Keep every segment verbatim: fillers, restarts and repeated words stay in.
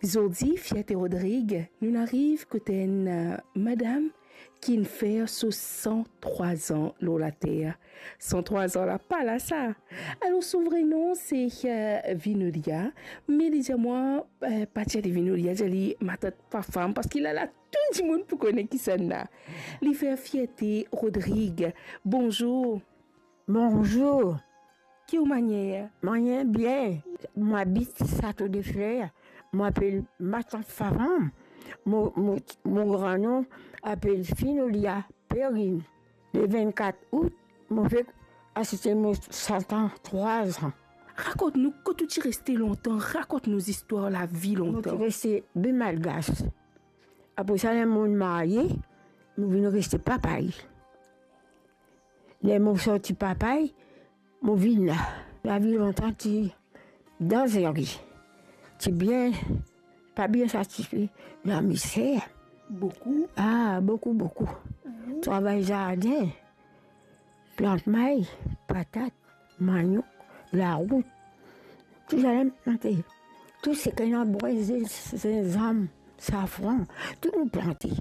Zordi, Fierte Rodrigue, nou ariv kot enn, eh, madam ki'nn fer so san trwa an lor later. San trwa an la, pa la sa. Alor, so vre nom se, eh, Vinolia, me li dir mwa, eh, pa dir li Vinolia, dir li matant Fafam, parski la, la tou dimoun pou kone kisannla. Li fer Fierte Rodrigue. Bonzour. Bonzour. Ki ou manier? Manier bien. Mo abit Sato de Fler. Mo apel matant Fafam. Mo, mo, mo gran nom apel Finolia Perrine. Le vennkat out, mo fek asiste mo san trwa an. Rakont nou kot ou ti reste lontan, rakont nou zistwar lavi lontan. Mo ti reste Baie Malgache. Apre sa, ler mo marye, mo vinn reste Papay. Ler mo sorti Papay, mo vinn la. Lavi lontan ti danzere. Ti bien, pa bien satisfe. Lamizer. Boukou? Ah, boukou, boukou. Mhm. Travay zardin. Plant may, patat, manok, larout, tou sa la plante. Tou seki ena brin, zinzam, safran, tou nou plante.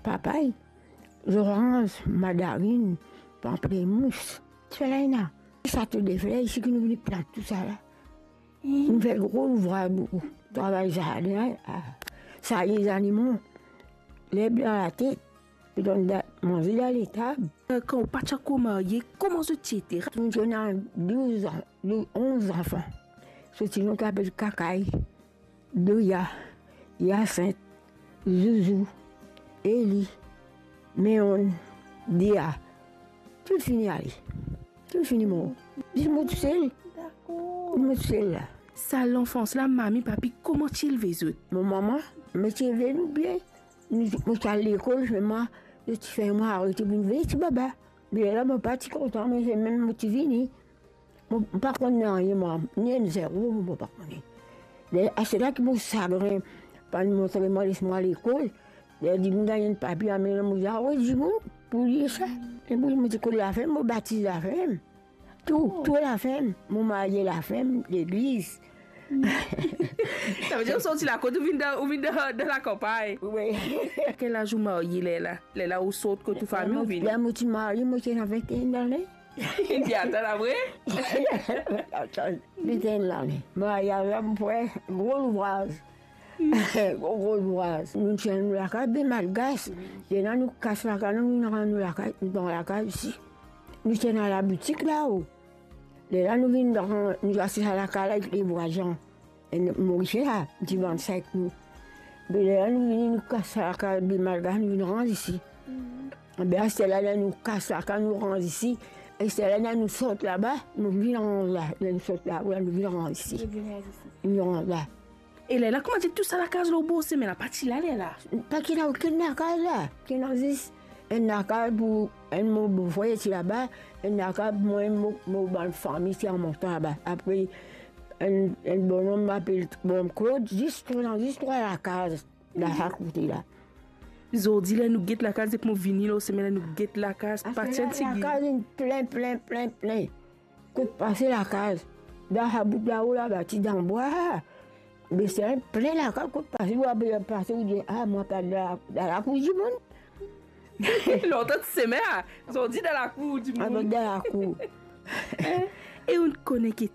Papay, zoranz, mandarinn, panplemous, tou sa la ena. Sato de Fler, isi ki nou vinn plant tou sa la. Nou fer gro louvraz boukou. Travay zardin, ah, sarye zanimo, lerb dan latet, pou donn da-, manze dan letab. Eh, kan ou pa ti ankor marye, kouma zot ti ete? Nou ti ena douz an, dou-, onz zanfan. Sorti nou ki apel Kakay, Doya, Yasint, Zouzou, Eli, Meon, Dia. Tou fini ale. Tou fini mor. Zis mo tousel. Dakor. Mo tousel la. Sa lanfans la, mami, papi, kouma ti elve zot? Mo mama, me ti elve nou bien. Nou, mo ti al lekol, selman, zot ti fer mwa arete pou vinn vey ti baba. Me la, mo pa ti kontan, me se mem mo ti vini. Mo pa konn nanye mwa, ni enn zero, mo pa kone. Ler, aster la ki mo sagrin, pa montre mwa, les mwa lekol. Ler dimoun gagn enn papie, amenn mwa, mo dir, "Awe, dimoun, pou li sa." E pou li, mo ti kot lafem, mo batiz lafem. Tou, tou lafem, mo marye lafem, legliz. Savedir ou sorti lakot, ou vinn dan, ou vinn dan, dan lakanpagn. Wi. Kel laz ou marye lerla? Lerla ou sort kot ou fami, ou vini? Ler mo ti marye, mo ti ena vinte et un lane. Li atann apre? Atann, vinte et un lane. Maryaz la, mo fer gro louvraz. Gro, gro louvraz. Nou ti ena nou lakaz, be malgas. Lerla nou kas lakaz, nou vinn rann nou lakaz, nou dan lakaz isi. Nou ti ena laboutik lao. Lerla nou vinn dan, nou aste sa lakaz la, ek le vwazin. Enn Morisien la, ti vann sink nou. Be lerla nou vini, nou kas lakaz, be malgas, nou vinn rann isi. Be aster la, ler nou kas lakaz, nou rann isi. Aster la, ler nou sort laba, nou vinn rann la. Ler nou sort la, nou vinn rann isi. Nou vinn rann isi. Nou vinn rann la. E lerla, koumadir tou sa lakaz lor bor sime la, pa ti la lerla? Pa ti ena okenn lakaz la. Ti ena zis enn lakaz pou enn mo bofrer ti laba, enn lakaz pou mwa, mo, mo bann fami ti al mont laba. Apre, enn, enn bonom apel bonom Claude, zis trwa, zis trwa lakaz la, sa kote la. Zordi la, nou get lakaz, depi mo vini lor sime la, nou get lakaz, pa ti enn tigit. Lakaz inn plin, plin, plin, plin. Kot pase lakaz? Dan sa bout lao laba, ti dan bwa. Be se enn plin lakaz, kot pase, ou ape pase, ou dir, "Ah, mwa pa dan la, dan lakour dimoun." Lontan ti sime, ah, zordi dan lakour dimoun. Ah, dan lakour. E ou kone ki